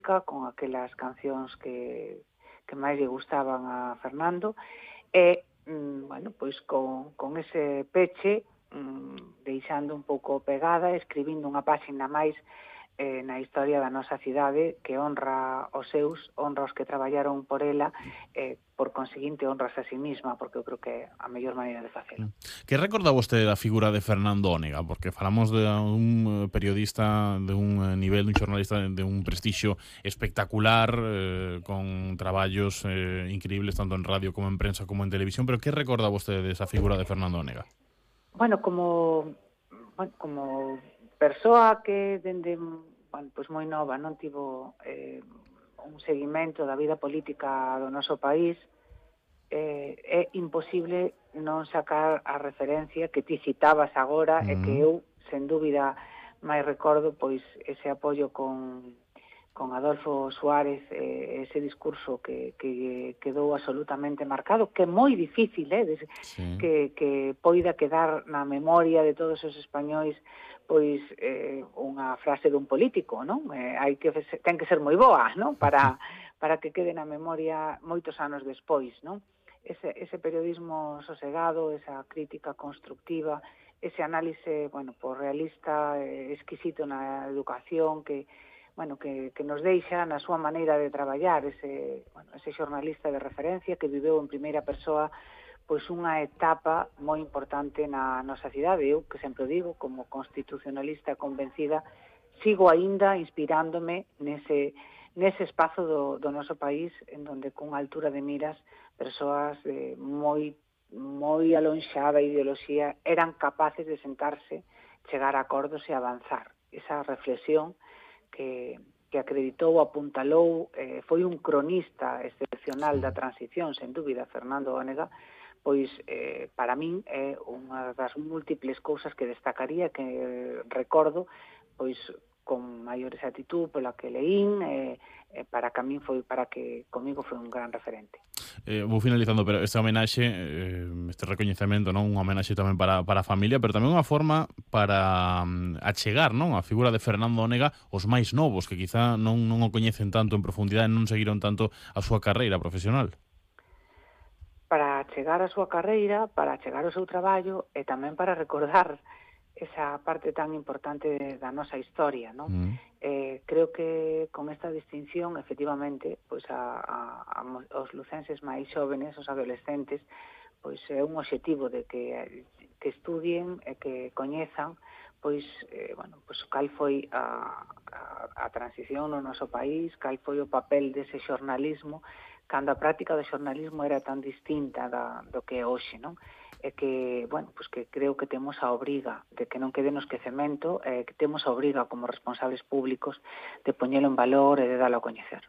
con aquelas cancións que máis lle gustaban a Fernando, e, bueno, pois con ese peche, deixando un pouco pegada, escribindo unha páxina máis na historia da nosa cidade que honra os seus, honra os que traballaron por ela, por conseguinte honras a sí misma, porque eu creo que é a mellor maneira de facelo. Que recorda vostede da figura de Fernando Ónega? Porque falamos de un periodista de un nivel, un xornalista de un prestixio espectacular, con traballos increíbles tanto en radio como en prensa como en televisión, pero que recorda vostede desa figura de Fernando Ónega? Bueno, como persoa que dende pois moi nova non tivo un seguimento da vida política do noso país, é imposible non sacar a referencia que ti citabas agora e que eu, sen dúbida, máis recordo pois ese apoio con Adolfo Suárez, ese discurso que quedou absolutamente marcado, que é moi difícil, Sí. que poida quedar na memoria de todos os españois pois unha frase dun político, non? Ten que ser moi boa, non? Para que quede na memoria moitos anos despois, non? Ese periodismo sosegado, esa crítica constructiva, ese análise, bueno, pues realista, exquisito na educación, que nos deixa na súa maneira de traballar, ese xornalista de referencia que viveu en primeira persoa pois unha etapa moi importante na nosa cidade. Eu, que sempre digo, como constitucionalista convencida, sigo aínda inspirándome nese espazo do noso país, en donde cunha altura de miras persoas de moi alonxada ideoloxía eran capaces de sentarse, chegar a acordos e avanzar. Esa reflexión que acreditou, apuntalou, foi un cronista excepcional da transición, sen dúbida, Fernando Ónega, pois para min é unha das múltiples cousas que destacaría, que recordo, pois con maior exactitud pola que leín, para que comigo foi un gran referente. Vou finalizando, pero esta homenaxe, este recoñecemento, non, unha homenaxe tamén para a familia, pero tamén unha forma para achegar, non, a figura de Fernando Ónega os máis novos, que quizá non o coñecen tanto en profundidade, non seguiron tanto a súa carreira profesional. Para chegar a súa carreira, para chegar ao seu traballo e tamén para recordar esa parte tan importante da nosa historia, non? Creo que con esta distinción, efectivamente, pois os lucenses máis xóvenes, os adolescentes, pois é un obxectivo de que estudien e que coñezan pois cal foi a transición no noso país, cal foi o papel dese xornalismo, cando a práctica do xornalismo era tan distinta do que é hoxe, non? E que, que creo que temos a obriga de que non quede no esquecemento, que temos a obriga como responsables públicos de poñelo en valor e de dalo a coñecer.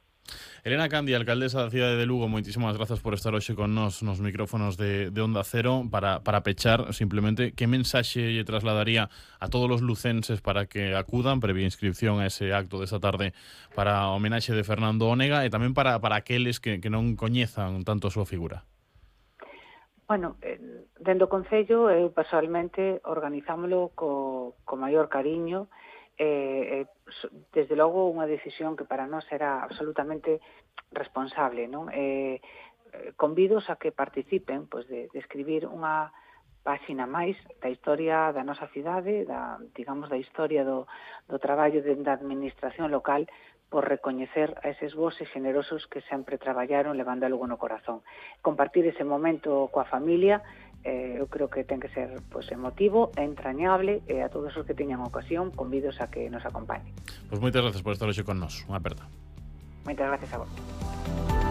Elena Candia, alcaldesa da cidade de Lugo, moitísimas grazas por estar hoxe con nos micrófonos de Onda Cero. Para pechar, simplemente, que mensaxe lle trasladaría a todos os lucenses para que acudan, previa inscripción a ese acto desta tarde para a homenaxe de Fernando Ónega, e tamén para aqueles que non coñezan tanto a súa figura? Dentro do Concello, eu personalmente organizámolo co maior cariño, desde logo unha decisión que para nós era absolutamente responsable, non? Convidos a que participen de escribir unha páxina máis da historia da nosa cidade, da historia do traballo da administración local, por recoñecer a eses vos e generosos que sempre traballaron levando algo no corazón. Compartir ese momento coa familia, eu creo que ten que ser emotivo e entrañable, e a todos os que teñan ocasión, convidos a que nos acompañen. Pois moitas gracias por estar hoxe con nós. Unha aperta. Moitas gracias a vos.